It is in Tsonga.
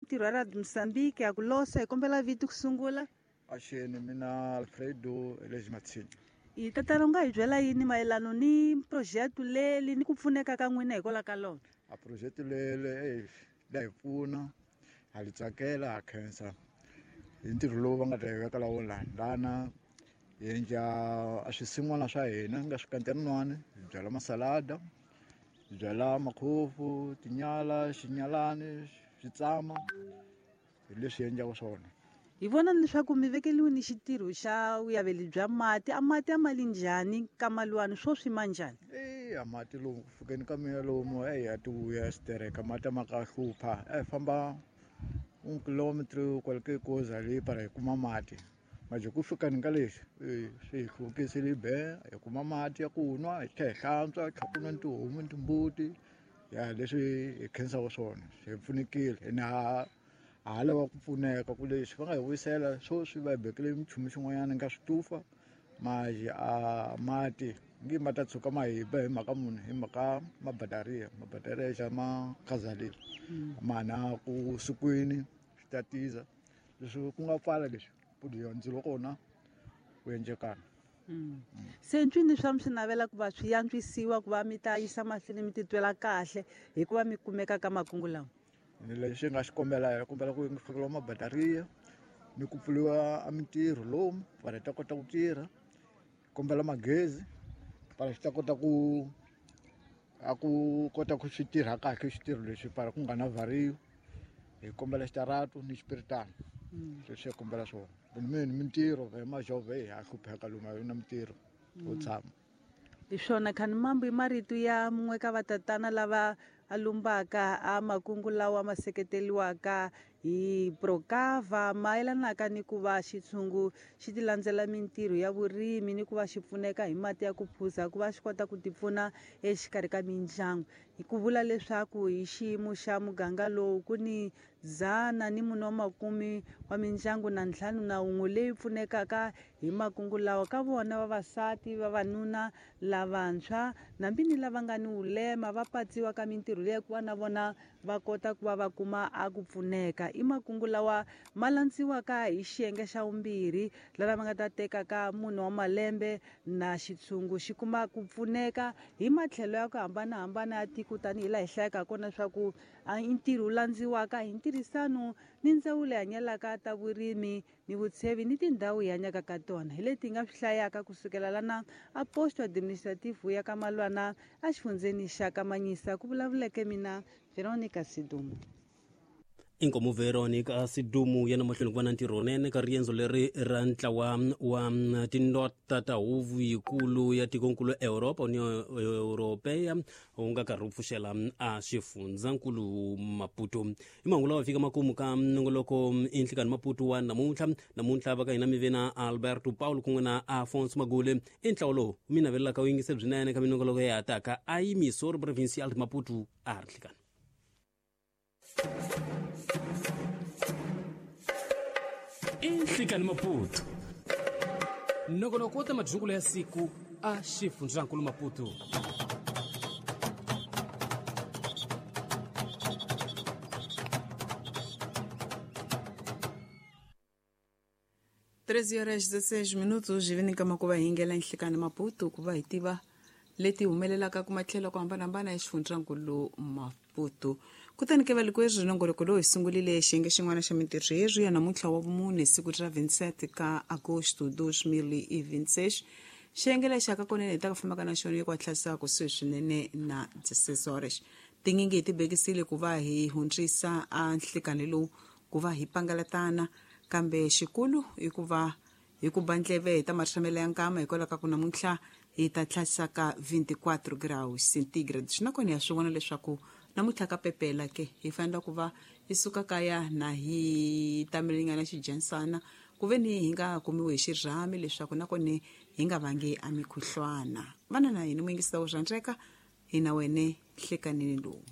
Mintirho ya Radio Mozambique ya ku losa hi kombela vito ku sungula. Axeni mina Alfredo Elezi Matsini. Hi tatana u nga hi byela yini mayelano ni project leli ni ku pfuneka ka n'wina hikwalaho ka lona? A project lele la hi pfuna, ha li tsakela, ha khensa hi ntirho lowu va nga ta hi vekela wona lana hi endla a swisin'wana swa hina nga swikanteninwani, hi byala masalada, hi byala makhofu, tinyala, xinyalani, switsama, hi leswi hi endlaka swona. Hi vona leswaku mi vekeliwe ni xitirho xa vuyaveli bya mati. A mati a ma li njhani ka maluwani, swoswi ma njhani? A mati lomu ku fikeni ka mina lomu ya ti vuya xitereka, mati a ma ka hlupha. A hi famba 1 kilometro kwale ke koza leyi para hi kuma mati. Manje ku fikeni ka lexi, swi hi hluvukisile be, hi kuma mati ya ku nwa, hi tlhela hi hlantswa, hi tlhela ku nwa ni tihomu ni timbuti. Ya leswi hi khensaka swona, hi pfunekile. Ene ha lava ku pfuneka ku leswi va nga hi vuyisela sweswi va hi bekele minchumu xin'wanyana nga switufa, manje a mati ngi ma ta tshuka ma hi ba hi mhaka munhu, hi mhaka mabataria, mabataria xa ma khazalile. Mana ku sikwini swi ta tiza leswi ku nga pfala leswi ku dya ndzilo kona ku endlekana. Se ncwini swa mi swi navela ku va swi antswisiwa ku va mi ta yisa mahlweni mi titwela kahle hikuva mi kumeka ka makungu lawa? Ni lexi nga xi kombela, hi kombela ku fakeriwa mabataria ni ku pfuriwa a mintirho lomu vanhu ta kota ku tirha, kombela magezi para swi ta kota ku a ku kota ku swi tirha kahle xitirho lexi para ku nga na variyo. Hi kombela xitarato ni xipiritana. Leswi hi kombela swona. Ni mintirho hi majove ha hlupheka lomu a na mintirho wo tshama. Hi swona khani mambo i marito ya mun'we ka vatatana lava a lumbaka a makungu lawa ma seketeriwaka hi Procava mayelanaka ni ku va xitshungu xi ti landzela mintirho ya vurimi ni ku va xi pfuneka hi mati ya ku phuza ku va xi kota ku tipfuna exikarhi ka mindyangu. Hi ku vula leswaku hi xiyimo xa muganga lowu ku ni 140 wa mindyangu na 51 leyi pfunekaka hi makungu lawa. Ka vona vavasati, vavanuna, lavantshwa nambi ni lava nga ni vulema va patsiwa ka mintirho leyi ku va na vona va kota ku va va kuma a ku pfuneka. I makungu lawa ma landziwaka hi xiyenge xa vumbirhi lava va nga ta teka ka 4 wa malembe na xitshungu xi kuma ku pfuneka hi matlhelo ya ku hambanahambana ya tiko tanihi laha hi hlayaka kona leswaku i ntirho wu landziwaka hi ntirhisano ni ndzawulo yi hanyelaka ta vurimi ni vutshevi ni tindhawu hi hanyaka ka tona. Hi leti hi nga swi hlayaka kusukela lana a posto administrative ya ka Malwana a xifundzeni xa ka Manyisa, ku vulavuleke mina Veronica Sidumo. Inkomu Veronica Sidumo ya namahlweni ku va na ntirho nene ka riendzo leri ra ntlawa wa tinota ta huvo yikulu ya tikonkulu Europa, Union Europea, wu nga karhi wu pfuxela a xifundzankulu Maputo. Hi mahungu lawa fika makumu ka nongoloko i nhlikani Maputo wa namuntlha. Namuntlha va ka hina mi ve na Alberto Paulo kun'we na Afonso Magule. I ntlawa lowu mi navelelaka wu yingise byinene ka minongoloko ya taka a Emissora Provincial de Maputo a ri nhlikani. Inhlikani Maputo, nongonoko wo ta madyungulo ya siku a xifundzankulu Maputo. Treze horas 16 minutos, hi vini kama ku va hi ngela Nhlikani Maputo ku va hi tiva leti humelelaka ku matlhelo ku hambanahambana ya xifundzankulu Maputo. Kutani ke valikwerhu nongoloko lowu hi sungurile xiyenge xin'wana xa mintirho yerhu ya namuntlha wa vumune, siku ra 27 ka agosto 2026. Xiyenge lexi aka konene hi ta ku fambaka na xona eku hatlisa kusuhi swinene na 16 horas. Tinyingi hi ti bekisile ku va hi hundzisa a nhlikani lowu ku va hi pangalatana, kambe xikulu i ku va hi ku ba ndleve hi ta marhamela ya nkama hikwalaho ka ku namuntlha hi ta tlhasa ka 24 graus centigrade. Swi nakona ya swi vona leswaku namuntlha ka pepela ke hi fanele ku va hi suka kaya na hi tamelingana xijansana ku ve ni hi nga kumiwi hi xirhami leswaku nakona hi nga vangi a mikhuhlwana. Vana na hina muyingisa wo rhandzeka, hi na wene nhlekanini lowu.